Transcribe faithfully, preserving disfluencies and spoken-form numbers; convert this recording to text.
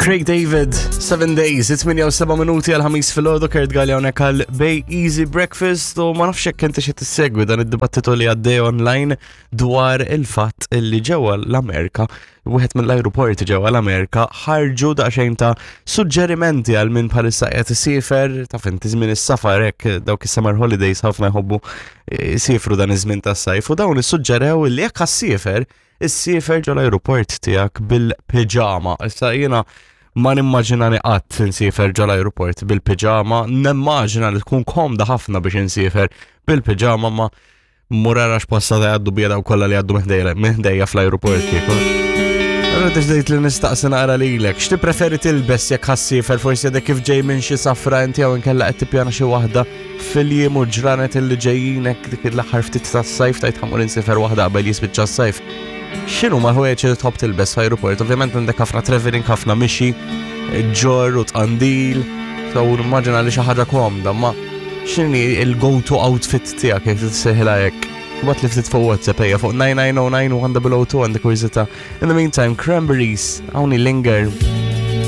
Craig David, seven Days, it-tmienja u seba' minuti għal ħames filgħodu. Kurt Galea hawnhekk għal Bay Easy Breakfast u ma nafx jekk inti xi tissegwi dan id-dibattitu li għaddej online dwar il-fatt li ġewwa l-Amerika, wieħed mill-ajruporti ġewwa l-Amerika, ħarġu daqsxejn ta' suġġerimenti għal min bħalissa qed isiefer. Taf inti, żmien is-safar hekk, dawk is-summer holidays, ħafna jħobbu jsifru dan iż-żmien tas-sajf u dawn issuġġerew li jekk issiefer, issiefer ġo l-ajruport tiegħek bil-piġama. Issa jiena ma nimmaġinani qatt insiefer ġo l-ajruport bil-piġama, nimmaġina li tkun komda ħafna biex insiefer bil-piġama, ma murara x'passa ta' jgħaddu bija daw kollha li jgħaddu minn ħdejja fl-ajruport kieku. Allora deċidejt li nistaqsi naqra lilek, x'ti preferi tilbes jekk ħa ssiefer, forsi għadek kif ġej minn xi safra inti jew inkella qed tippjana xi waħda fil-jiem u ġranet illi ġejjinek, dik l-aħħar ftit tas-sajf, tgħid ħa mmur insiefer waħda qabel jispiċċa s-sajf. X'inhu ma ħwejjeġ li tħobb tilbes f'ajruport? Ovvjament għandek ħafna traveling, ħafna mixi, ġorr u tqandil, so immaġina li xi ħaġa komda, ma x'inhi il-go-to outfit tiegħek, jekk tissejħilha hekk? Ibgħatli ftit fuq WhatsApp, ejja, fuq nine nine zero nine one zero zero two, għandek kurżità. In the meantime, Cranberries, hawn Linger.